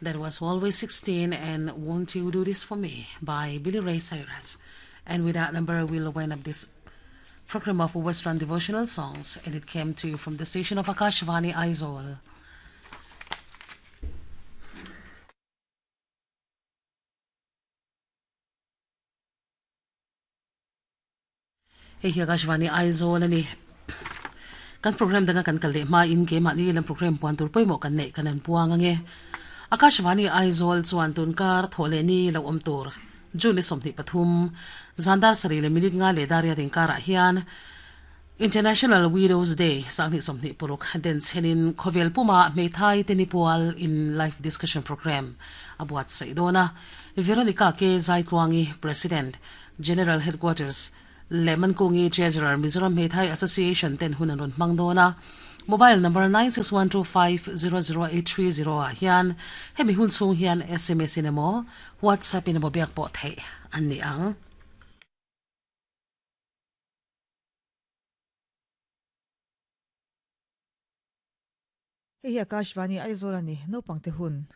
That was Always 16 and Won't You Do This For Me by Billy Ray Cyrus. And with that number, we'll wind up this program of Western devotional songs, and it came to you from the station of Akashvani Aizawl. Hei hi Akashvani Aizawl a ni. Kan program danga kan kal leh hmain keimahni lam program puan tur pawimawh kan neih kan han puang ange. Akashvani Aizawl chuan tunkar thawh leh ni lo awm tur June ni 23 zan dar sarih leh minute nga leh dar riat inkarah hian International Widows Day 2026 den chhenin khawvel puma hmeithai te ni pual in live discussion program a buatsaih dawn a. Veronica K Zaitluangi, President, General Headquarters, leh Mankungi Treasurer, Mizoram Hmeithai Association ten hun an rawn hmang dawn a. Mobile number 9612500830 ah hian hemi hun chhung hian sms in emaw WhatsApp in emaw biak pawh theih an ni ang. Hei hi Akashvani Aizawl a ni, naupangte hun.